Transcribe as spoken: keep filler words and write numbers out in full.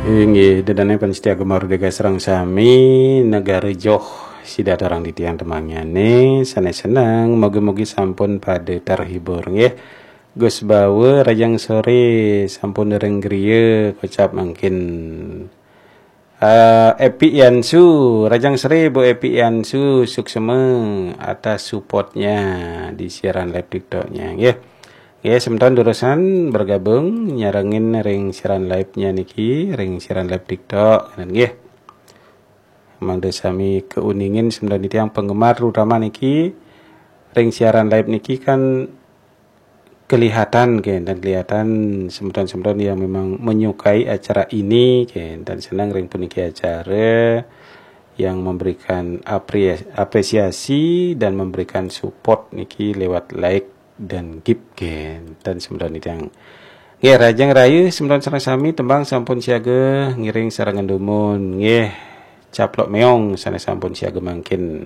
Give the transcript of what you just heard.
Inggih, ida dané pamiarsa Gema Merdeka sareng sami, negara joh sida aturang titiang tembangné, sané seneng, mugi-mugi sampun pada terhibur nggih. Gus Bawa, rahajeng soré, sampun ring griya kocap mangkin. Eh, Epi Yansu, rahajeng soré Bu Epi Yansu, suksma atas supportnya di siaran live TikToknya nggih. Nggih, semeton durusang bergabung nyarengin ring siaran live-nya niki, ring siaran live TikTok nggih. Mangda sami kauningin semeton titiang penggemar terutama niki ring siaran live niki kan kelihatan nggih, dan kelihatan semeton-semeton yang memang menyukai acara ini nggih, dan senang ring puniki acara yang memberikan apre-, apresiasi dan memberikan support niki lewat like dan gift nggih, dan semeton titiang. Nggih, rahajeng raya semeton sareng sami, tembang sampun siaga ngiring sarengan dumun nggih. Caplok Meong sané sampun siaga mangkin.